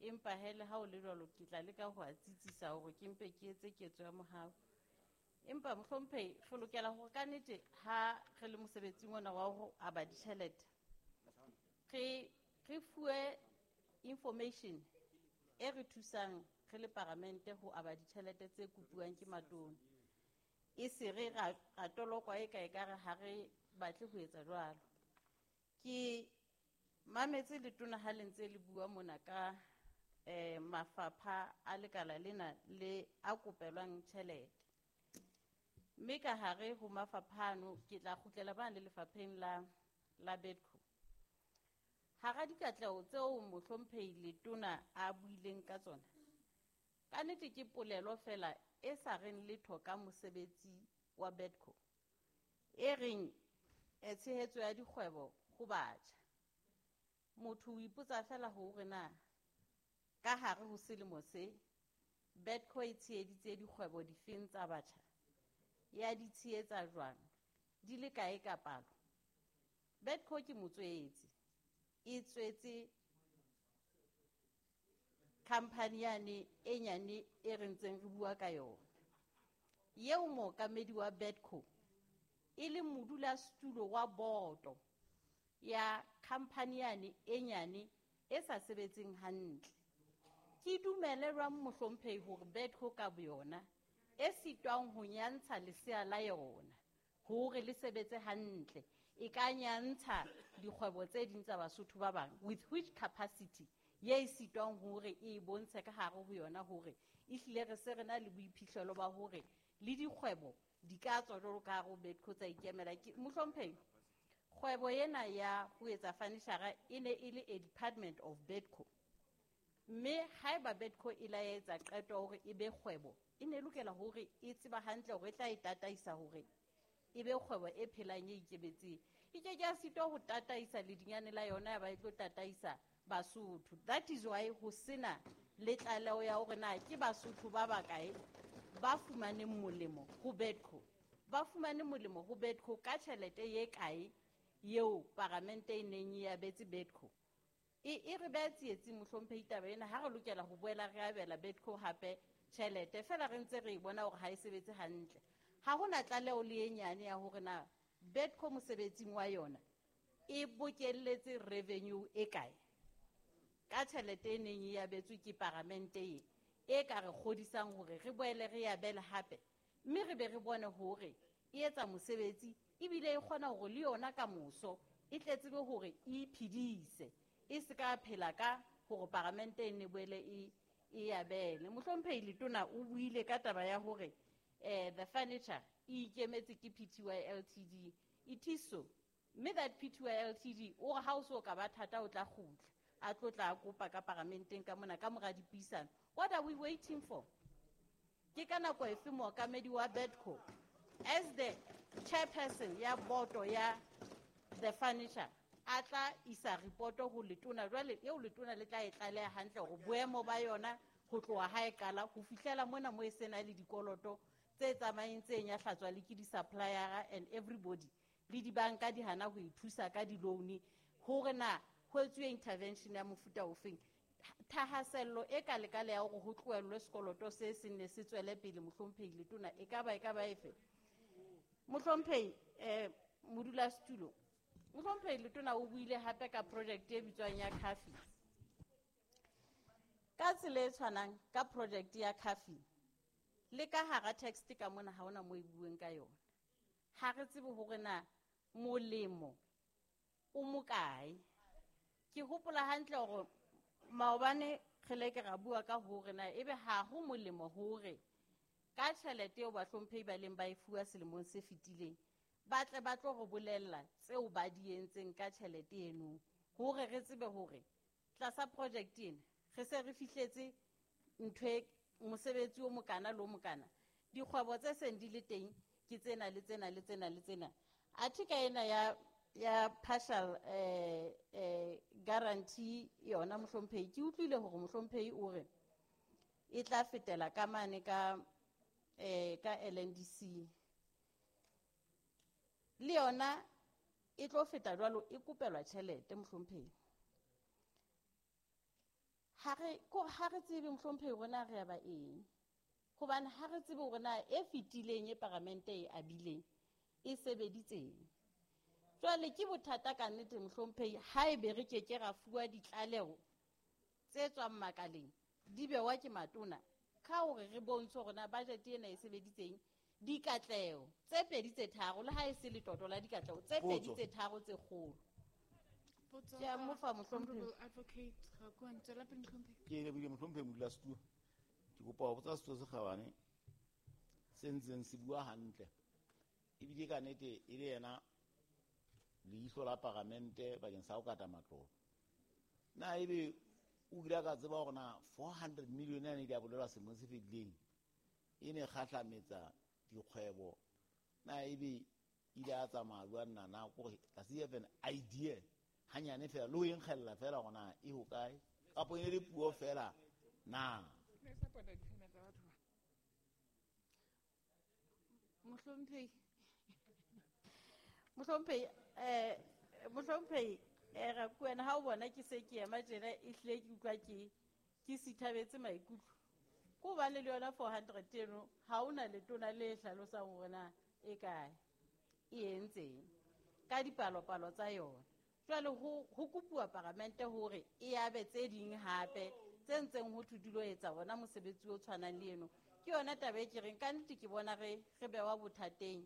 Empa hele ha o le jwalo ke tla leka ho a tsitsisa hore ke mpe ke etse ketso ya mohau. Empa Mohlomphehi re lokela hore ka nnete ha re le mosebetsing ona wa ho aba ditjhelete re re fuwe information e re thusang re le paramente ho aba ditjhelete tse kopuwang ke matona. E se re ra tolokwa e ka e ka re ha re batle ho etsa jwalo. Ke mametse letona ha le ntse le bua mona ka eh mafapha a lekala lena le a kopelwang tjhelete. Mme ka hare ho mafapha ano ke tla kgutlela bana le lefapheng la la Bedco. Hara dikatleho tseo Mohlomphehi letona a buileng ka tsona, ka nnete ke polelo fela e sa reng letho ka mosebetsi wa Bedco e reng e tshehetso ya dikgwebo ho batjha. Motho o ipotsa fela hore na ka hare ho selemo se Bedco e tsheheditse dikgwebo difeng tsa batjha, ya di tshehetsa jwang, di le kae ka palo. Bedco ke motswetse, e tswetse company yane e nyane e re ntseng re bua ka yona. Eo mookamedi wa Bedco e le modulasetulo wa boto ya company yane e nyane e sa sebetseng hantle. Ke dumelelwang Mohlomphehi hore Bedco ka boyona e sitwang ho nyantsha lesea la yona hore le sebetse hantle e ka nyantsha dikgwebo tse ding tsa Basotho ba bang with which capacity ye e sitwang hore e bontshe ka hare ho yona hore e hlile re se re na le boiphihlelo ba hore le dikgwebo di ka tswa jwalo ka hare ho Bedco tsa ikemela. Ke Mohlomphehi, kgwebo ena ya ho etsa furniture e ne e le a department of Bedco. Mme haeba Bedco e la etsa qeto hore e be kgwebo, e ne lokela hore e tseba hantle hore e tla e tataisa hore e be kgwebo e phelang e ikemetseng. E ke ke a sitwa ho tataisa ledinyane la yona ya ba e tlo tataisa Basotho. That is why ho sena le tlaleho ya hore na ke Basotho ba bakae ba fumaneng molemo ho Bedco, ba fumane molemo ho Bedco ka tjhelete ye kae eo paramente e neng e abetse Bedco. E e re beha tsietsing mohlomphehi taba ena ha re lokela ho boela re abela Bedco hape tjhelete, fela re ntse re e bona hore ha e sebetse hantle. Ha hona tlaleho le e nyane ya hore na Bedco mosebetsing wa yona e bokelletse revenue e kae ka tjhelete e neng e abetswe ke paramente e e ka re kgodisang hore re boele re abele hape, mme re be re bone hore e etsa mosebetsi ebile e kgona hore le yona ka moso e tle tsebe hore e iphedise, e se ka phela ka hore paramente e ne boele e e abele. Mohlomphehi Letona o buile ka taba ya hore eh the furniture e ikemetse ke P T Y L T D. It is so. Mme that P T Y L T D o re ha o so ka ba thata o tla kgutla a tlo tla kopa ka paramenteng ka mona ka mora dipuisano. What are we waiting for? Ke ka nako efe mookamedi wa Bedco as the chairperson ya boto ya the furniture a tla isa reporto ho letona jwale eo letona le tla e tlaleha hantle hore boemo ba yona ho tloha ha e qala ho fihlela mona mo e sena le dikoloto tse tsamayeng tse nyahlatswa le ke di-supplier and everybody le dibanka di hana ho e thusa ka di-loan hore na ho etsuwe intervention ya mofuta ofeng. Thahasello e ka lekale ya hore ho tlohellwe sekoloto se seng ne se tswele pele mohlomphehi Letona e ka ba e ka ba efe? Mohlomphehi eh modulasetulo, mohlomphehi Letona o buile hape ka project e bitswang ya Coffee. Ka tsela e tshwanang ka project ya Coffee le ka hara text ka mona ha hona mo e bueng ka yona. Ha re tsebe hore na molemo o mokae. Ke hopola hantle hore maobane re le ke ra bua ka hore na ebe ha ho molemo hore ka tjhelete eo bahlomphehi ba leng ba e fuwa selemong se fetileng ba tle ba tlo re bolella tseo ba di entseng ka tjhelete eno hore re tsebe hore tlasa project ena re se re fihletse ntho e mosebetsi o mokana le o mokana, dikgwebo tse seng di le teng ke tsena le tsena le tsena le tsena. Athe ka ena ya ya partial eh eh guarantee yona mohlomphehi ke utlwile hore mohlomphehi o re e tla fetela ka mane ka eh ka L N D C le yona e tlo feta jwalo e kopelwa tjhelete mohlomphehi. Ha re ko ha re tsebe mohlomphehi rona re ya ba eng, hobane ha re tsebe hore na e fetileng e paramente e abileng e sebeditseng. Jwale ke bothata ka nnete mohlomphehi ha ebe re ke ke ra fuwa ditlaleho tse tswang makaleng di bewa ke matona ka hore re bontshe hore na budget ena e sebeditseng dikatleho tse pedi tse tharo le ha e se letoto la dikatleho tse pedi tse tharo tse kgolo. Ke a mo fa mohlomphehi. Advocate Rakoane, tswela pele mohlomphehi. Ke lebile mohlomphehi modulasetulo. Ke kopa ho botsa setho se kgabane se ntseng se bua hantle ebile ka nnete e le yena leihlo la paramente bakeng sa ho kata matlolo. Na ebe o ile ka tseba hore na four hundred million yane di a bolelwa selemong se fetileng e ne kgahlametsa dikgwebo, na ebe ile a tsamaya jwang na na kore does he have an idea hanyane fela le ho e nkgella fela hore na e hokae kapo e ne le puo fela na? Mohlomphehi Mohlomphehi eh mohlomphehi eh Rakoena ha o bona ke se ke ema tjena e hlile ke utlwa ke ke sithabetse maikutlo. Ko hobane le yona four hundred eno ha hona letona le hlalosang hore na e kae e entseng ka dipalopalo tsa yona. Jwale ho ho kopuwa paramente hore e abe tse ding hape tse ntseng ho thwe di lo etsa bona mosebetsi o tshwanang le eno. Ke yona taba e ke reng ka nnete ke bona re re bewa bothateng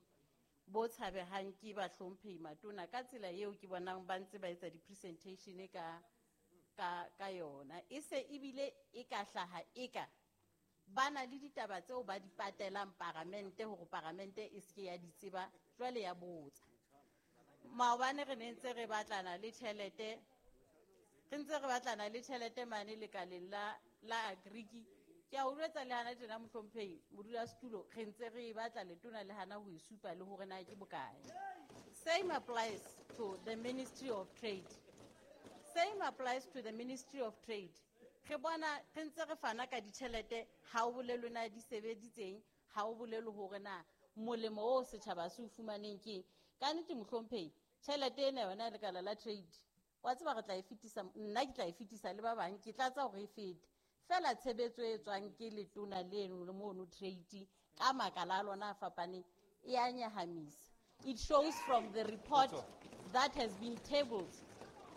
bo tshabehang ke bahlomphehi matona ka tsela eo ke bonang ba ntse ba etsa di-presentation ka ka ka yona. E se ebile e ka hlaha e ka ba na le ditaba tseo ba di patelang paramente hore paramente e se ke ya di tseba jwale ya botsa. Maobane re ne ntse re batlana le tjhelete, re ntse re batlana le tjhelete mane lekaleng la la Agriki. Ke a o jwetsa le hana tjena mohlomphehi modulasetulo, re ntse re e batla letona le hana ho e supa le hore na ke bokae. Same applies to the Ministry of Trade. Same applies to the Ministry of Trade. Re bona re ntse re fana ka ditjhelete, ha o bolelwe na di sebeditseng, ha o bolelwe hore na molemo o setjhaba se o fumaneng keng. Ka nnete mohlomphehi, tjhelete ena yona lekala la trade, wa tseba re tla e fetisa, nna ke tla e fetisa le ba bang, ke tlatsa hore e fete. Fela tshebetso e tswang ke letona leno le mono trade ka makala a lona a fapaneng e a nyahamisa. It shows from the report that has been tabled.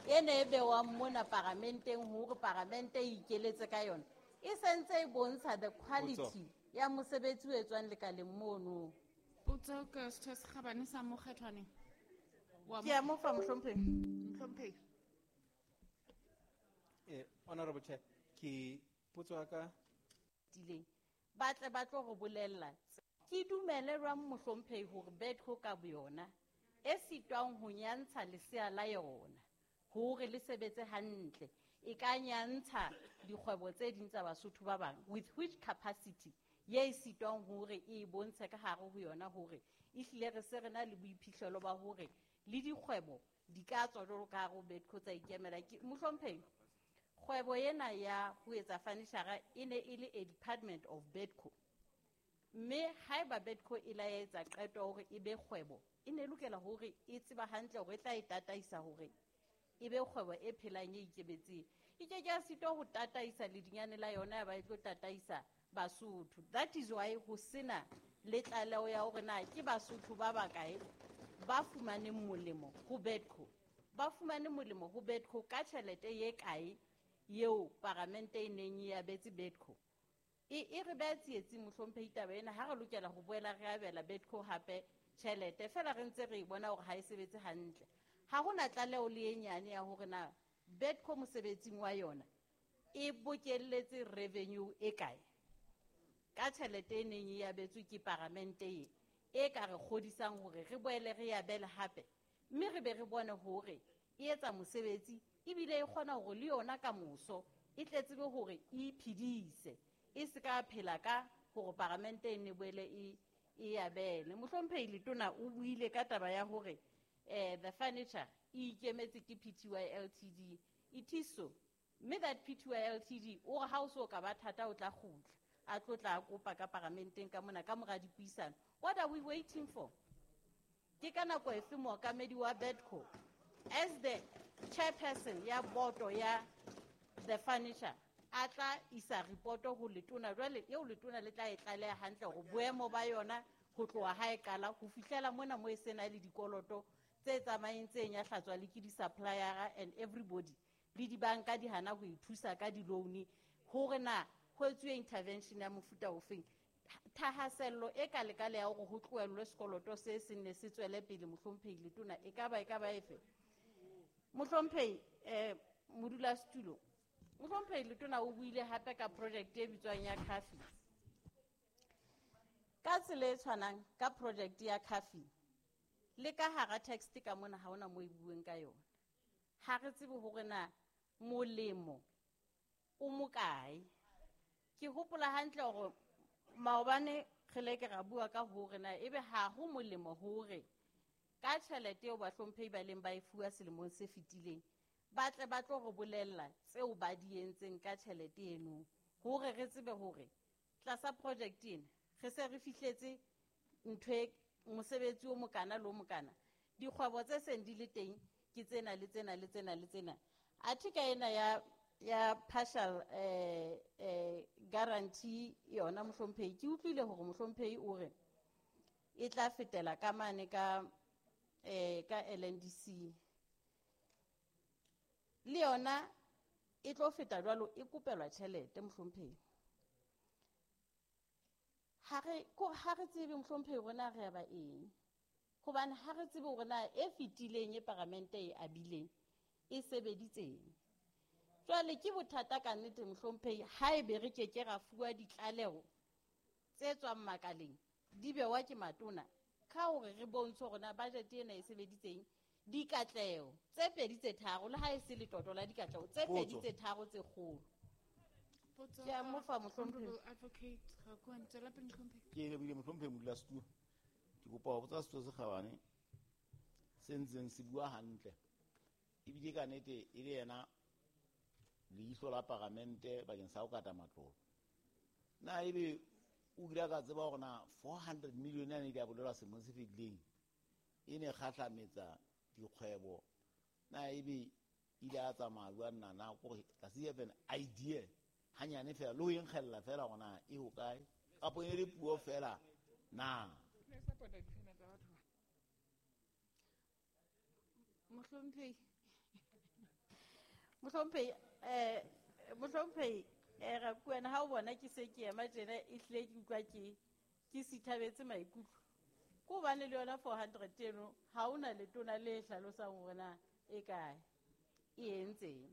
E ne e bewang mona paramenteng hore paramente e ikeletse ka yona. E sentse e bontsha the quality ya mosebetsi o etswang lekaleng mono. Potso ka Setho se Kgabane sa Mokgethwaneng. Ke a mo fa mohlomphehi. Mohlomphehi. Eh, Honorable Chair, ke potso ya ka tileng. Ba tle ba tlo re bolella. Ke dumele jwang mohlomphehi hore Bedco ka boyona e sitwang ho nyantsha lesea la yona hore le sebetse hantle, e ka nyantsha dikgwebo tse ding tsa Basotho ba bang, with which capacity ye e sitwang hore e bontshe ka hare ho yona hore ehlile re se re na le boiphihlelo ba hore le dikgwebo di ka tswa jwalo ka hare ho Bedco tsa ikemela. Ke mohlomphehi, kgwebo ena ya ho etsa furniture e ne e le a department of Bedco. Mme haeba Bedco e la etsa qeto hore e be kgwebo, e ne lokela hore e tseba hantle hore e tla e tataisa hore e be kgwebo e phelang e ikemetseng. E ke ke ya sitwa ho tataisa ledinyane la yona ya ba e tlo tataisa Basotho. That is why ho sena le tlaleho ya hore na ke Basotho ba bakae ba fumaneng molemo ho Bedco. Ba fumane molemo ho Bedco ka tjhelete ye kae eo paramente e neng e abetse Bedco. E, e re beha tsietsing mohlomphehi taba ena, ha re lokela ho boela re abela Bedco hape tjhelete, fela re ntse re e bona hore ha e sebetse hantle. Ha hona tlaleho le e nyane ya hore na Bedco mosebetsing wa yona e bokelletse revenue e kae ka tjhelete e neng e abetswe ke paramente e, e ka re kgodisang hore re boele re abele hape, mme re be re bone hore e etsa mosebetsi ebile e kgona hore le yona ka moso e tle tsebe hore e iphedise, e se ka phela ka hore paramente e ne boele e, e abele. Mohlomphehi Letona o buile ka taba ya hore eh, the furniture e ikemetse ke P T Y L T D. It is so. Mme that P T Y L T D o re ha o so ka ba thata o tla kgutla, a tlo tla kopa ka paramenteng ka mona ka mora dipuisano. What are we waiting for? Ke ka nako efe mookamedi wa Bedco as the chairperson ya boto ya the furniture a tla isa reporto ho letona jwale eo letona le tla e tlaleha hantle hore boemo ba yona ho tloha ha e qala ho fihlela mona mo e sena le dikoloto tse tsamayeng tse nyahlatswa le ke di-supplier and everybody le dibanka di hana ho e thusa ka di-loan hore na ho etsuwe intervention ya mofuta ofeng. Thahasello e ka lekale ya hore ho tlohellwe sekoloto se seng ne se tswele pele mohlomphehi Letona e ka ba e ka ba efe? Mohlomphehi eh modulasetulo, mohlomphehi Letona o buile hape ka project e bitswang ya Coffee. Ka tsela e tshwanang ka project ya Coffee le ka hara text ka mona ha hona mo e bueng ka yona. Ha re tsebe hore na molemo o mokae. Ke hopola hantle hore maobane re le ke ra bua ka hore na ebe ha ho molemo hore ka tjhelete eo bahlomphehi ba leng ba e fuwa selemong se fetileng ba tle ba tlo re bolella tseo ba di entseng ka tjhelete eno, hore re tsebe hore tlasa project ena re se re fihletse ntho e mosebetsi o mokana le o mokana, dikgwebo tse seng di le teng ke tsena le tsena le tsena le tsena. Athe ka ena ya ya partial eh, eh, guarantee yona mohlomphehi, ke utlwile hore mohlomphehi o re e tla fetela ka mane ka, eh, ka L N D C. Le yona e tlo feta jwalo, e kopelwa tjhelete mohlomphehi. Ha re, ko, ha re tsebe mohlomphehi hore na re ya ba eng, hobane ha re tsebe hore na e fetileng e paramente e abileng e sebeditseng. Jwale ke bothata ka nnete mohlomphehi haebe re ke ke ra fuwa ditlaleho tse tswang makaleng di bewa ke matona ka hore re bontshe hore na budget ena e sebeditseng dikatleho tse pedi tse tharo, le ha e se letoto la dikatleho tse pedi tse tharo tse kgolo. Ke a mo fa mohlomphehi. Advocate Rakoane, tswela pele mohlomphehi. Ke lebile mohlomphehi modulasetulo. Ke kopa ho botsa Setho se Kgabane se ntseng se bua hantle ebile ka nnete e le yena leihlo la paramente bakeng sa ho kata matlolo. Na ebe o kile ka tseba hore na four hundred million yane di a bolelwa selemong se fetileng e ne kgahlametsa dikgwebo, na ebe ile a tsamaya jwang na na kore does he have an idea hanyane fela le ho e nkgella fela hore na e hokae kapo e le puo fela na? Mohlomphehi. Mohlomphehi, eh mohlomphehi, eh Rakwena, ha o bona ke se ke ema tjena e hlile ke utlwa ke ke sithabetse maikutlo. Ke hobane le yona four hundred eno ha ona letona le hlalosang hore na e kae, e entseng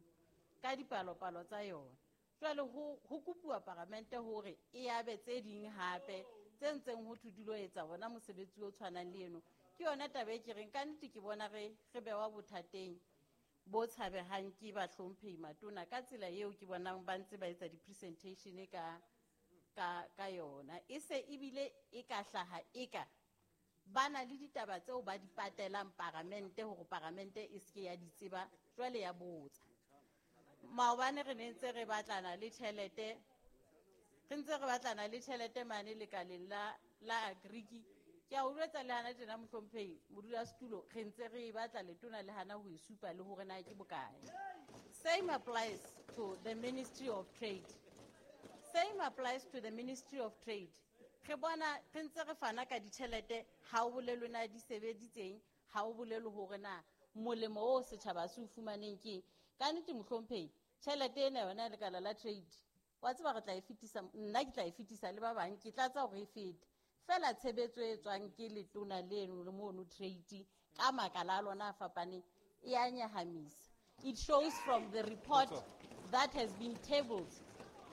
ka dipalopalo tsa yona. Jwale ho ho kopuwa paramente hore e abe tse ding hape tse ntseng ho thwe di lo etsa bona mosebetsi o tshwanang le eno. Ke yona taba e ke reng ka nnete ke bona re re bewa bothateng bo tshabehang ke bahlomphehi matona ka tsela eo ke bonang ba ntse ba etsa di-presentation ka, ka, ka yona. E se ebile e ka hlaha e ka ba na le ditaba tseo ba di patelang paramente hore paramente e se ke ya di tseba, jwale ya botsa. Maobane re ne ntse re batlana le tjhelete, re ntse re batlana le tjhelete mane lekaleng la, la Agriki. Ke a o jwetsa le hana tjena mohlomphehi modulasetulo, re ntse re e batla letona le hana ho e supa le hore na ke bokae. Same applies to the Ministry of Trade. Same applies to the Ministry of Trade. Re bona re ntse re fana ka ditjhelete, ha o bolelwe na di sebeditseng, ha o bolelwe hore na molemo o setjhaba se o fumaneng ke eng. Ka nnete mohlomphehi, tjhelete ena yona ya lekala la trade, wa tseba re tla e fetisa, nna ke tla e fetisa le ba bang, ke tlatsa hore e fete. Fela tshebetso e tswang ke letona leno le mono trade ka makala a lona a fapaneng e a nyahamisa. It shows from the report that has been tabled.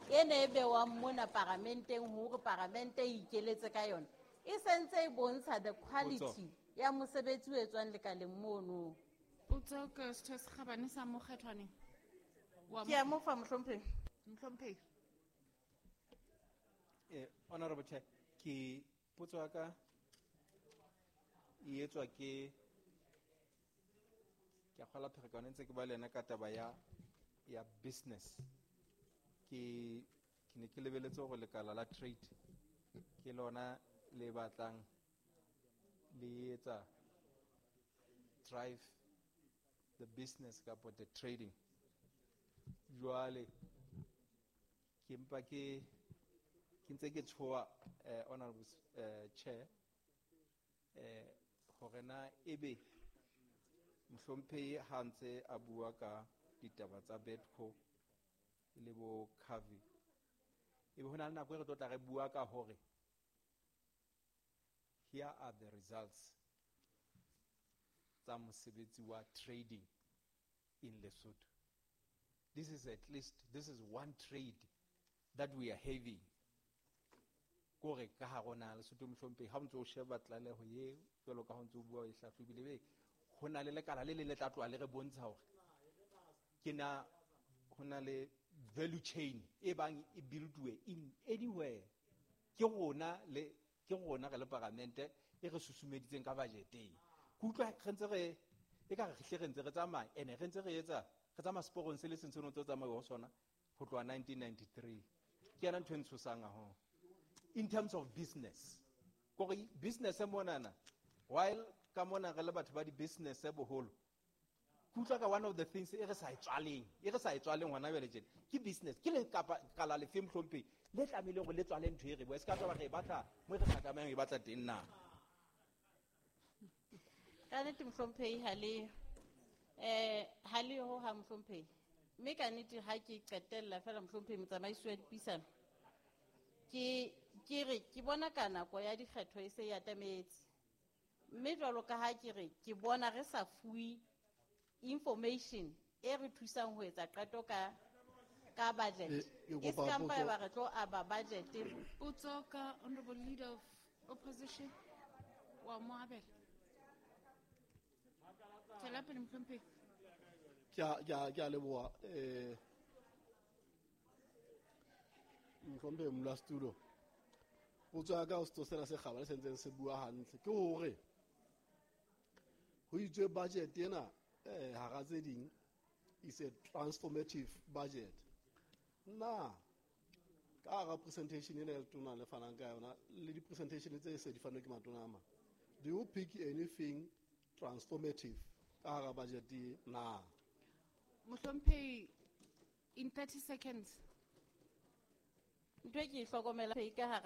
E ne e bewang mona paramenteng hore paramente e ikeletse ka yona. E sentse e bontsha the quality ya mosebetsi o etswang lekaleng mono. Potso ke Setho se Kgabane sa Mokgethwaneng. Wa Ke a mo fa mohlomphehi. Mohlomphehi. Eh, Honorable Chair, ke potso ya ka e etswa ke ke a kgola pherekano ntse ke ba le yena ka taba ya, ya business. Ke, ke ne ke lebeletse hore lekala la trade ke lona le batlang le etsa drive the business kapa the trading. Jwale ke mpa ke, ke ntse ke tshoha, eh, Honorable, eh, Chair, eh, hore na ebe mohlomphehi ha ntse a bua ka ditaba tsa Bedco le bo Cavi, ebe ho na le nako e re tlo tla re bua ka hore here are the results tsa mosebetsi wa trading in Lesotho. This is at least, this is one trade that we are having. Kore ka ha rona Lesotho mohlomphehi, ha o ntso o sheba tlaleho ye jwalo ka ha o ntso o bua o e hlahlobile, be ho na le lekala le le le tla tloha le re bontsha hore ke na ho na le value chain e bang e build-uwe in anywhere. Ke rona le, ke rona re le paramente e re susumeditseng ka budget-eng. Ke utlwa re ntse re, e ka re hle re ntse re tsamaya, ene re ntse re etsa, re tsamaya seporong se le seng se no ntse o tsamaya ho sona ho tloha nineteen ninety-three. Ke yona ntho e ntshosang haholo. In terms of business, kore business e monana, while ka mona re le batho ba di-business boholo, ke utlwa ka one of the things e re sa e tswaleng, e re sa e tswaleng hona jwale tjena, ke business, ke le kapa kala lefe mohlomphehi, le tlamehileng hore le tswale ntho e re bua, e se ka taba re e batla mo re sa tlamehang ho e batla teng na. Ka nnete mohlomphehi ha le, eh, ha le ho ha mohlomphehi. Mme ka nnete ha ke qetella fela mohlomphehi motsamaisi wa dipuisano, ke, ke re ke bona ka nako ya dikgetho e se e atametse. Mme jwalo ka ha ke re ke bona re sa fuwe information e re thusang ho etsa qeto ka, ka budget. E, ke E se kopa ka mpa potso. ya ba re tlo aba budget. Potso ka Honorable Leader of Opposition wa mo abela. Tswela pele mohlomphehi. Ke a, ke a, ke a leboha, eh, mohlomphehi modulasetulo. Potso ya ka ho setho sena se kgabane se ntseng se bua hantle ke hore ho itswe budget ena, eh, hara tse ding is a transformative budget. Na ka hara presentation ena ya letona le fanang ka yona le di-presentation tse se di fanwe ke matona a mang, do you pick anything transformative ka hara budget e na? Mohlomphehi, in thirty seconds. Ntho e ke e hlokomela ka hara